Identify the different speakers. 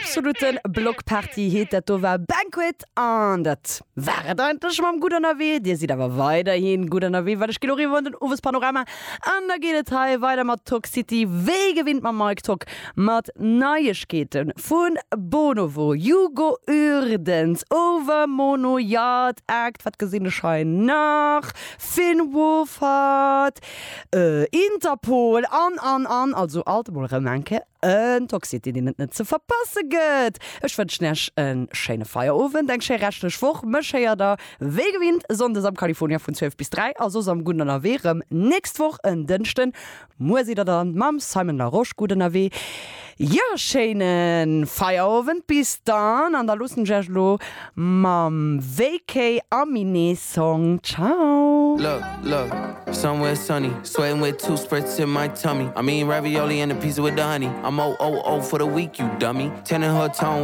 Speaker 1: Absoluten Blockparty heet dat do war Banquet an dat war et eigentlech mam Gutt ënnerwee. Dir sidd awer weiderhi gutt ënnerwee, well ech ginn och eriwwer an den Owespanorama an da geet et hei weider mat Tock City, wéi gewinnt mam Mike Tock, mat Neiegkeete vu Bonovo, Hugo Urdens, Overmono, Yard Act, wat gesinn ech hei nach, Finn Wolfhard, Interpol an an an, also alt emol erëm eng Kéier en Toxity deen et net ze verpasse gëtt. Ech wënschen Iech e schéine Feierowend, eng schéi reschtlech Woch. Mech héiert der wéi gewinnt Sonndes am California vun 12 bis 3 a soss am Gudden Ënnerwee rëm nächst Woch en Dënschden. Muer sidd der dann mam Simon Larosche gutt ënnerwee. Jo, schéine Feierowend, bis dann an da loossen ech iech elo mam VK Aminé Song. Ciao!
Speaker 2: Look, look, somewhere sunny, sweating with two spritz in my tummy. I mean ravioli and a pizza with the honey. I'm O O O for the week, you dummy. Ten in her tone.